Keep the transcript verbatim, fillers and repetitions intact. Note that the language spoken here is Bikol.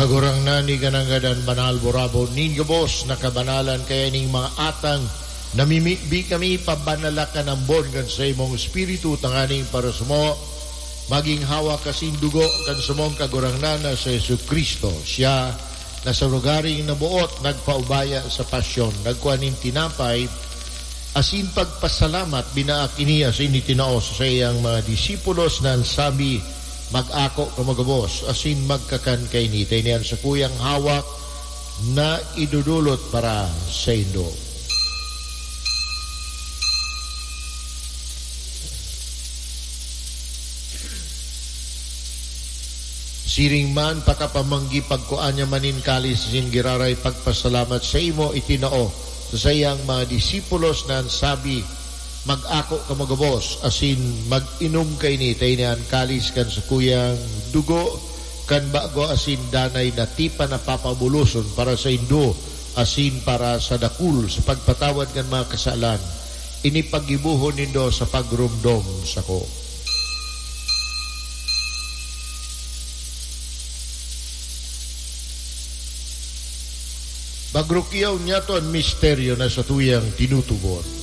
Kagurangnan, iganangadan banal, burabon nin gabos na kabanalan, kaya ning mga atang namimibi kami, pabanala kan ambon kan saimong Espiritu, tanganing para samo magin hawak asin dugo kan samong Kagurangnan na si Jesu-Cristo. Siya na sa lugaring naboot nagpaubaya sa pasyon, nagkua nin tinapay, asin pagpasalamat, binaak ini asin itinao sa saiyang mga disipulos na an sabi, "Mag-ako kamo gabos asin magkakan kaini, ta ini an sakuyang hawak na idodolot para saindo." Siring man, pakapamanggi, pagkua niya man nin kalis asin giraray pagpasalamat saimo, itinao sa saiyang mga disipulos na an sabi, "Mag-ako kamo gabos asin mag-inom kaini, ta ini an kalis kan sakuyang dugo kan bago asin danay na tipan na papabuloson para saindo asin para sa dakul sa pagpatawad kan mga kasalan. Ini paggibohon nindo sa pagromdom sako." Pagrukiyaw niyato an misteryo na satuyang tinutubod.